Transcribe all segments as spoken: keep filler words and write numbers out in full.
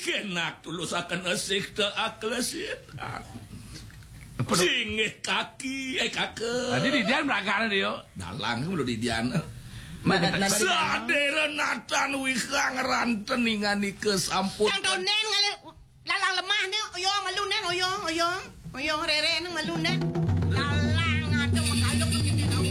Kenak tulusaken asih te aklesit. Apa tu? Singgih kaki, eh, kaka. Tadi didian beragak dia. Dalang mulu didian. Mana, mana, mana? Sadera natan wihang ranten inganika sampun. Sang tonen ngalih lalang lemah ni, oyo malu nen, oyo, oyo. Oyo rere nang malu nen. Lalang ada makaluk kene tau.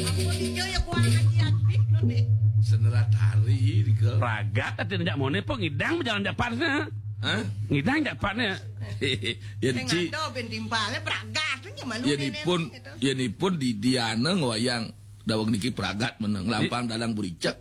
Apa dia ya kuat hati habis tu ni. Senerat hari dika. Ragat ati nejak mone po ngidang bejalan jak patne. Hah? Ngidang jak patne. Ya, Sing ci. Ada ben timpal, eh, beragat tu je malu Yen nen ipun, gitu. Yen ipun didiana ngwayang daweg niki pragat meneng. Di- lampang dalang bericak.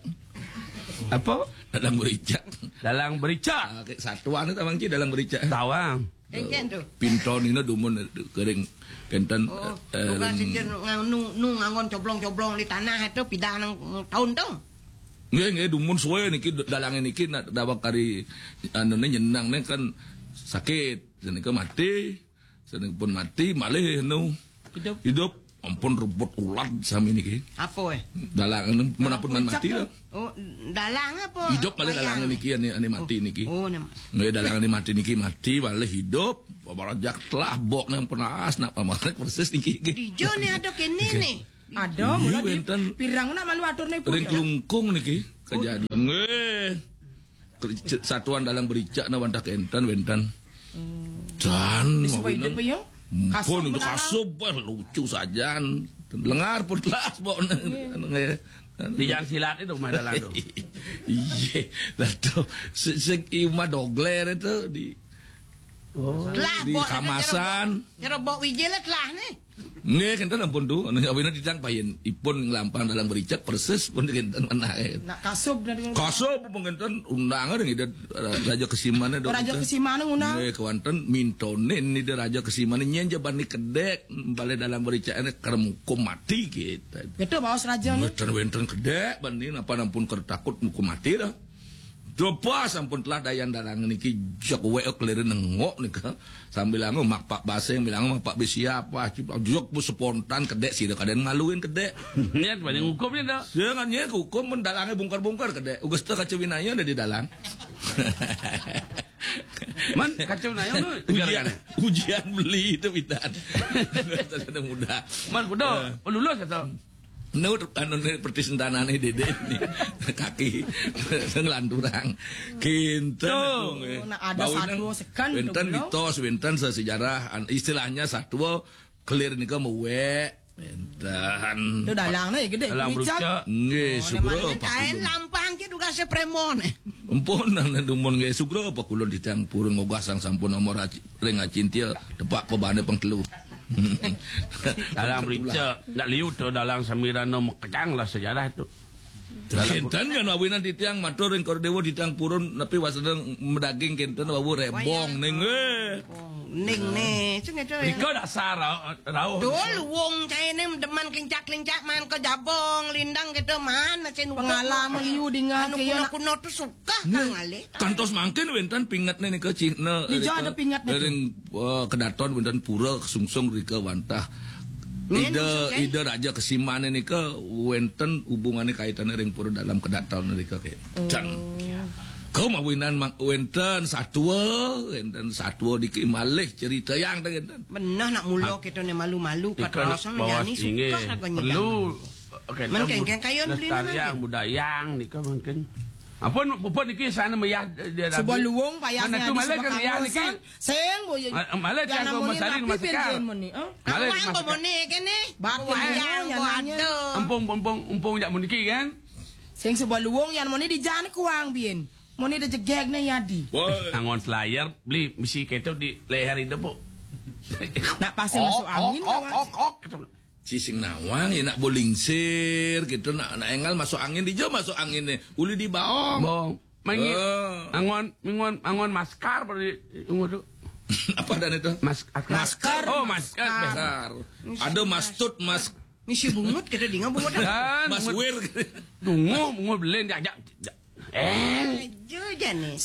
Apa? Dalang bericak. Dalang bericak. Ah, kayak satuan itu, Bang Ci, dalang bericak. Tawang. Engken tu. Pinton ini dumun kering kenten, Oh, eh, bukan ring- sijil ngang-, nu, nu ngangon coblong-coblong di tanah itu pidah nang taun tu. Nggih, nggih, dumun suwe niki d-, dalange niki nak daweg kari anune nyenangne kan sakit. Senika mati. Seneng pun mati, malih anu. Hidup. Hidup. Ampun rebut ulat sami niki. Apa, eh? Dalang anu, menapun man Puncak mati tu. Lah. Oh, dalang apa? Hidup malih dalang niki, ane, ane mati niki. Oh, nama. Nggih, dalang ane mati niki mati, malih hidup. Barajak telah bok nang penas, nak pamarek persis niki. Dijo ni ada kene ni. Ada, iya, mula di wenten pirang nak malu atur ni pun. Ring Klungkung niki kejadian. Nggih. Ker-, satuan dalang bericak na wantah kenten wenten. Hmm. Dan disebut mawinang. Hidup ya? Kasub pun itu menara. Kasub, bah, lucu sajan. Lengar pun telas, bok. Iya. Nggih. Di jalan silat itu rumah dalang tu. Iya, dah tu. Se-, se-, rumah dogler itu di Oh. Telah, di bok, Kamasan. Cara bok wijil telah ni. Nggih, kenten ampun tu. Anu awina titiang payen ipun nglampang dalang bericak persis pun kenten menah. Nak kasub dari kasub pun kenten undangan ida Raja Kesimane. Oh, Raja Kesimane ngundang. Nggih, kewanten mintonin ida Raja Kesimane nyen jebani kedek balik dalang bericak ini kerem hukum mati kita. Betul, baos raja ni. Wenten-wenten kedek bani napa nampun ker takut hukum mati dah. Coba sampun telah dayan dalang niki jek wek kelirin nengok nika. Sambil anu mak pak baseng bilang mak pak besi apa cip jek bu spontan kedek sira kaden maluin kedek. Niat banyak hukum ni dah. Jangan nya hukum men dalange bungkar-bungkar kedek. Ugas te kaca winaya ada di dalang. Man kaca winaya tu. Ujian, ujian beli itu pidan. Ada mudah. Man kuda lulus atau Nur, anu, ni perti sentana ni dede ni. Kaki. Ngelanturang. Kinten. Tuh, itu, nggih. Nak ada bawina satwa sekan tu wenten pula. Mitos, wenten sesejarah, an-, istilahnya satwa kelir nika mewek. Wenten. Tu dalang ni gede. Dalang bericak. Bericak. Nggih, oh, sugra kain lampang ke duga se premon. Empun nang dumun nggih sugra apa kulun titiang purun ngogah sang sampun nomor aci-, ring acintia tepak pebane pengtelu. Dalang bericak, nak liu tu dalang samirana mekejang lah sejarah tu. Kenten kan awinan titiang matur ring Kor Dewa titiang purun nepi wasana medaging kenten wau rebong ning, eh. Oh, ning ne, sing ada. Rika dasar rau-, rauh. Dul wong caine demen klincak-klincak man ke jabong, lindang gitu man, sing pengalaman liu dengan anu kuno-kuno tu suka. Kah ngalih. Kantos mangkin wenten pingetne nika cihna. Dija ada pingetne ring, eh, kedaton wenten pura kesungsung rika wantah. Ida, ida Raja Kesimane nika wenten hubungane kaitane ring pura dalam kedaton rika ke. Oh. Can. Kau mawinan mak wenten satua, wenten satua diki malih cerita yang dah wenten. Benah nak mulo kita ni malu-malu kat rasa menjani suka agaknya. Perlu. Okey, men kengkeng kayun beli lestariang budaya nika mungkin. Ampun, ampun niki sana meyah dia. Sebuah luwung payah mana tu malah ke meyah niki. Sing boy. Malah yang tiang ko namanya masalin napi masakan. Pin jen meni, eh? Malah awang ko masakan. Meni kene. Batin wayang yang ko nanya. Ada. Empung, empung, empung jak meni kan? Sing sebuah luwung yang meni di jan kuang bin. Meni de jegeg ne yadi. Angon selayar beli mesti keto di leher itu, Bu. Nak pasang masuk angin. Ok, ok, ok. Ci sing nawang ya nak bolingsir gitu nak, nak engal masuk angin dija masuk angin ni uli di baong. Bong. Mangi. Eh. Angon, mingon, angon maskar pada di, di umur tu. Apa dan itu? Mas-, askar. Maskar. Oh, maskar. Maskar. Ada mastut, mas. Misi bungut kita dinga bungut. Dan mas bungut. Wir. Dungu, bungut belen, jak, jak, jak. Eh. Aja jane.